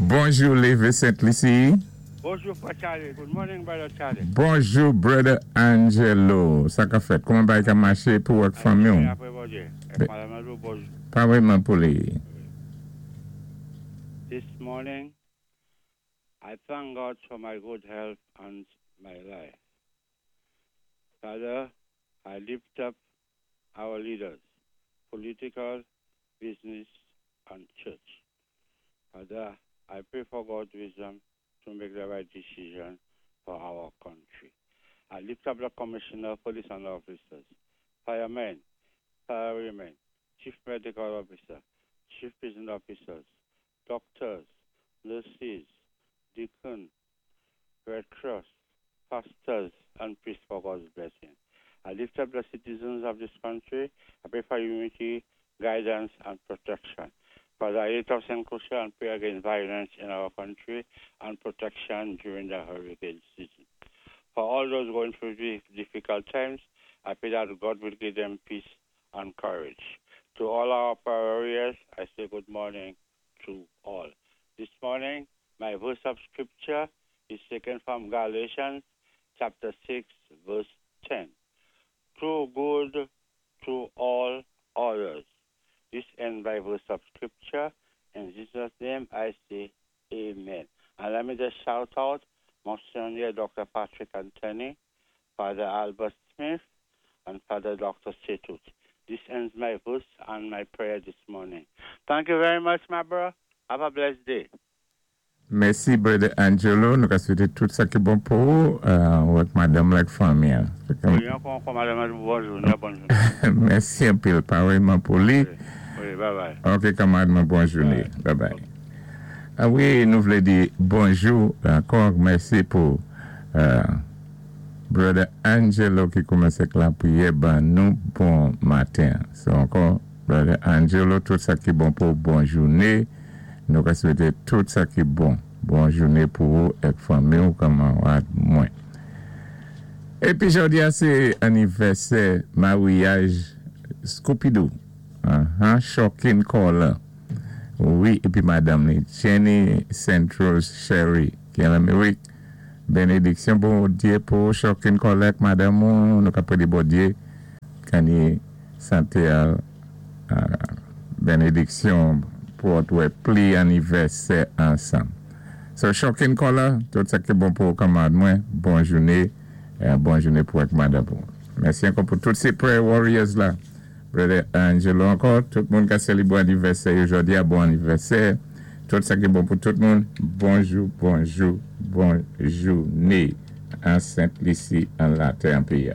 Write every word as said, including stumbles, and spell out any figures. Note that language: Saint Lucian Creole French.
Bonjou, Lévé Sainte-Lucie. Bonjou, Frè Charlie. Good morning, Brother Charlie. Bonjou, Brother Angelo. Sa ka fèt? Kouman bagay ka maché pou ak fanmi? Apwé Bondyé. Èk Madanm Andrew, bonjou. Parèyman pou li. This morning, I thank God for my good health and my life. Father, I lift up our leaders, political, business, and church. Father, I pray for God's wisdom to make the right decision for our country. I lift up the commissioner, police and officers, firemen, firewomen, chief medical officer, chief prison officers, doctors, nurses, deacon, Red Cross, pastors, and priests for God's blessing. I lift up the citizens of this country. I pray for unity, guidance, and protection. Father, I lift up Saint Lucia and pray against violence in our country and protection during the hurricane season. For all those going through difficult times, I pray that God will give them peace and courage. To all our prayer warriors, I say good morning to all. This morning, my verse of scripture is taken from Galatians chapter six, verse ten. Do good to all others. This ends my verse of scripture. In Jesus' name, I say amen. And let me just shout out Monsignor Doctor Patrick Anthony, Father Albert Smith, and Father Doctor Setut. This ends my verse and my prayer this morning. Thank you very much, my bro. Have a blessed day. Mèsi, Brother Angelo. Nou ka swété tout sa ki bon pou ou, euh, ak madanm ak fanmi. Wi, ankò, ankò, madanm, bòn jounen, bòn jounen. Mèsi anpil, parèyman pou li. Wi, bye bye. Ok, kanmarad, bòn jounen. Bye bye. A wi, nou vlé di bonjou ankò, mèsi pou euh, Brother Angelo ki koumansé lapriyè ban nou bon maten. So ankò, Brother Angelo, tout sa ki bon pou bòn jounen. Nou ka swété tout sa ki bon. Bòn jounen pou ou èk fanmi ou kanmarad mwen. Épi jòdi a sé anivèsè maryaj Scooby-Doo. Uh-huh, Shocking Caller. Wi, épi madanm li, Jenny Saint Rose Sherry, ki an Amerik. Bénédiksyon Bondyé pou Shocking Caller ak madanm ou, nou ka pwédé Bondyé kanni santé a, euh, bénédiksyon pou wè pli anivèsè ansanm. So, Shocking Caller, tout sa ki bon pou kanmarad mwen, bòn jounen, euh, bòn jounen pou ak madanm ou. Mèsi ankò pou tout sé prayer warriors la. Brother Angelo ankò, tout moun ka sélébwé anivèsè jòdi a, bon anivèsè. Tout sa ki bon pou tout moun. Bonjou, bonjou, bòn jounen. An Sainte-Lucie, an latè, an péyi.